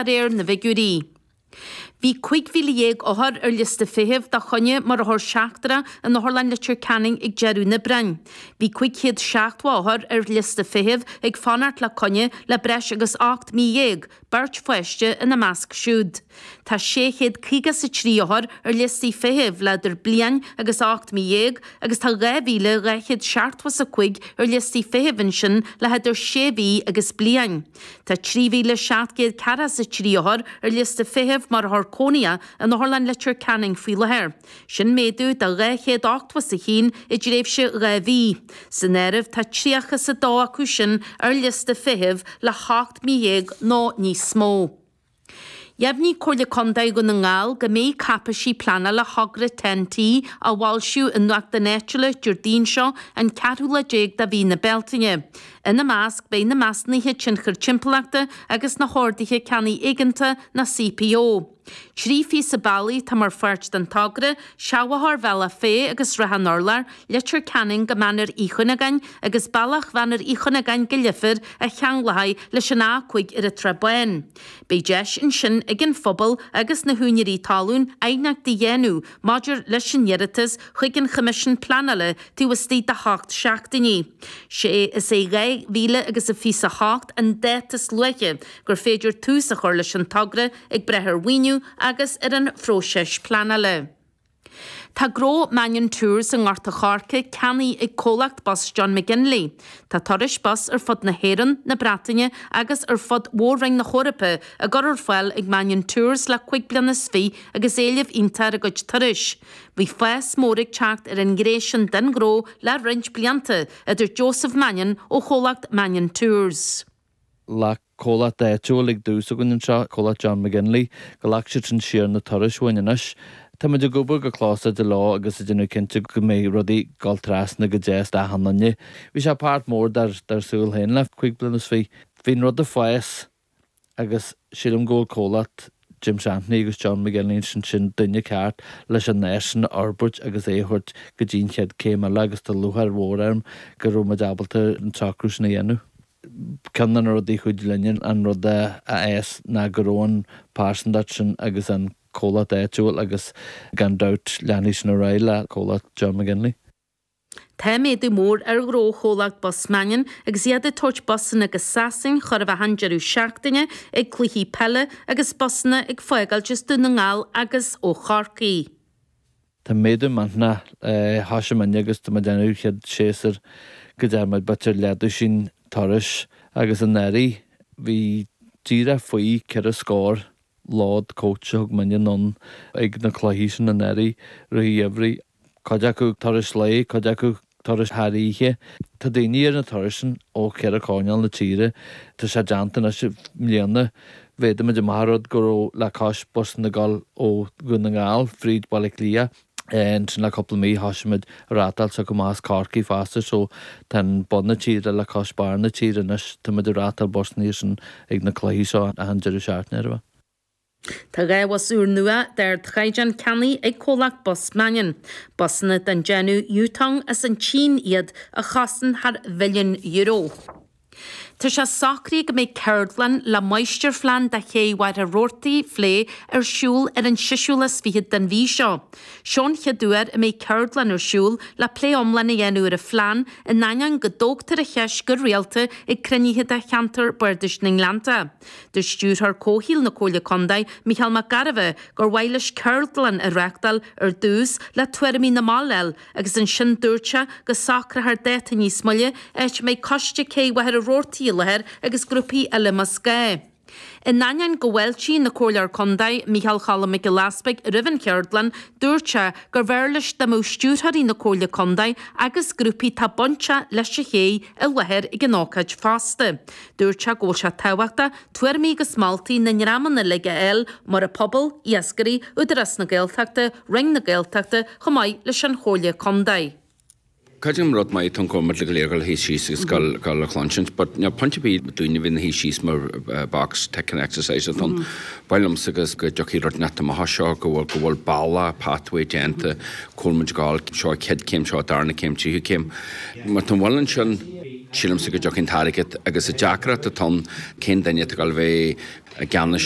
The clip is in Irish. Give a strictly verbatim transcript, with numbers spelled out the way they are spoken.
de réir na bhfigiúirí. Bhí cúig mhíle dhéag othar ar liosta feithimh do choinne mar othar seachtrach in Otharlann Leitir Ceanainn ag deireadh an Aibreáin. Bhí cúig chéad seachtó othar ar liosta feithimh ag fanacht le coinne le breis agus ocht mí dhéag, beirt pháiste ina measc siúd. Tá sé chéad caoga is a trí othar ar liostaí feithimh le idir bliain agus ocht mí dhéag agus tá dhá mhíle dhá chéad seachtó is a cúig ar liostaí feithimh ansin le hidir sé mhí agus bliain. Tá trí mhíle seacht gcéad ceathracha is a trí othar ar liosta feithimh mar othar cónaithe in Otharlann Leitir Ceanainn faoi láthair. Sin méadú de dhá chéad ochtó is a haon i dtréimhse dhá mhí. San áireamh tá tríocha is a dó acu sin ar liosta feithimh le hocht mí dhéag nó níos mó. Dheimhnigh Comhairle Contae Dhún na nGall go mbeidh cáipéisí pleanála thogra TEN-T á bhfoilsiú i nuachtáin áitiúla Déardaoin seo an ceathrú lá déag de mhí na Bealtaine. Ina measc beidh na measúnuithe tionchair timpeallachta agus na horduithe ceannaigh éigeantacha na CPO. Trí phíosa bealaigh atá mar pháirt den togra, Seachbhóthar Bhealach Féich agus Srath an Urláir, Leitir Ceanainn go Mainéar Uí Chuinneagáin agus bealach Mhainéar Uí Chuinneagáin go Leifear a cheanglóidh leis an A cúig ar an tSrath Bán. Beidh deis ansin ag an phobal agus na húinéirí talún aighneacht a dhéanamh maidir leis an iarratas chuig an Choimisiún Pleanála taobh istigh de hocht seachtainí. Sé is é dhá mhíle agus a fiche a hocht an dáta is luaithe gur féidir tús a chur leis an togra ag brath ar mhaoiniú agus ar an phróiseas pleanála. Tá gnó Mannion Tours i nGort a' Choirce ceannaithe ag comhlacht bus John McGinley. Tá turais bus ar fud na hÉireann, na Breataine agus ar fud mhór-roinn na hEorpa á gcur ar fáil ag Mannion Tours le cúig bliana is fiche agus éileamh iontach ar a gcuid turais. Bhí fás mór ag teacht ar an ngné sin den ghnó le roinnt blianta, a dúirt Joseph Mannion ó chomhlacht Mannion Tours. Le comhlacht áitiúil ag dtús againn anseo, comhlacht John McGinley, go ghlac siad sin siar na turais uainn anois. Tá muid ag obair go close leo agus ag déanamh cinnte go mbeidh rudaí ag dul trasna go deas d'achan duine. Bhí sé páirt mór dár dár saol féin le cúig bliana is fiche. Bhí an rud ag fás agus sílim go bhfuil comhlacht Jim Santney agus John McGinley sin sin duine ceart leis an áis sin a fhorbairt agus é a thabhairt go dtí an chéad céim eile agus tá lúcháir mhór orm go raibh muid ábalta an socrú sin a dhéanamh. Ceann de na rudaí chuid linne an rud a fhás ná go raibh an pearsantacht sin agus an comhlacht áitiúil agus gan dabht leanfaidh sin ar aghaidh le comhlacht John McGinley. Tá méadú mór ar ghnó chomhlacht Bus Mannion agus iad ag tabhairt busanna go Sasain chóir a bheith an deireadh seachtaine ag cluichí peile agus busanna ag fágáilt as Dún na nGall agus ó Chorcaigh. Tá méadú millteanach thosaigh muidne agus tá muid déanamh chéad séasúr go deir muid b'fhéidir leathdhosaen turais agus anuraidh bhí díreach faoi ceithre scór lód coach a thug muidne anonn ag na cluichí sin anuraidh rith an gheimhridh. Cuid acu turais lae, cuid acu turais thar oíche. Tá daoine ar na turais sin ó cheithre choirnéal na tíre. Tá sé déanta anois i mbliana. Mhéadaigh muid amach an rud go raibh le cois busanna ag dul ó Dhún na nGall fríd Baile Átha Cliath. Ansin le cúpla mí thosaigh muid ag reáchtáil s'acu amach as Corcaigh fosta so tá an bun na tíre le cois barr na tíre anois. Tá muid ag reáchtáil busanna sin ag na cluichí seo achan deireadh seachtaine ar a bheith. Tá dhá bhus úrnua d'ardchaighdeán ceannaithe ag comhlacht Bus Mannion. Busanna den déanamh Yutong as an tSín iad a chosain thar mhilliún euro. Tá sé socraithe go mbeidh ceardlann le máistirphlean do ché Mhachaire Rabhartaigh a phlé ar siúl ar an seisiú lá is fiche den mhí seo. Seo an chéad uair a mbeidh ceardlann ar siúl le plé iomlán a dhéanamh ar an phlean in ainneoin go dtógtar an cheist go rialta ag cruinnithe de cheantar Bardais na nGleannta. Dúirt stiúrthóir comhshaoil na Comhairle Contae Micheál Mac Gairbheith gur mhaith leis ceardlann a reáchtáil ar dtús le tuairimí na mball a fháil agus ansin dúirt sé go socrófar dáta níos moille áit a mbeidh coiste cé Mhachaire Rabhartaigh i láthair agus grúpaí eile más gá. In ainneoin go bhfáiltíonn an Comhairleoir Contae Micheál Cholm Mac Giolla Easpaig roimh an cheardlann, dúirt sé gur bhfearr leis dá mbeadh stiúrthóirí na Comhairle Contae agus grúpaí atá bainteach leis an ché i láthair ag an ócáid fosta. Dúirt sé go bhfuil sé tábhachtach tuairimí agus moltaí na ndreamanna uilig a fháil mar an pobal, iascairí, Údarás na Gaeltachta, Roinn na Gaeltachta, chomh maith leis an Chomhairle Contae. Creidim rud maith atá ann go bhfuil muid go léir ag dul síos agus gabháil gabháil a chluinsint, but níl pointe ar bith dúinn a bheith ina shuí síos mar box ticking exercise atá ann. Ba mhaith liomsa agus go dtiocfaidh rud inteacht amach as seo go bhfuil go bhfuil bealach pathway déanta, go bhfuil muid ag gabháil seo chéad céim seo darna céim tríú céim. Má tá an bhfuil ansin sílimse go dtiocfaidh an t-airgead agus an deacracht atá ann cén duine atá ag gabháil a bheith i gceannas seo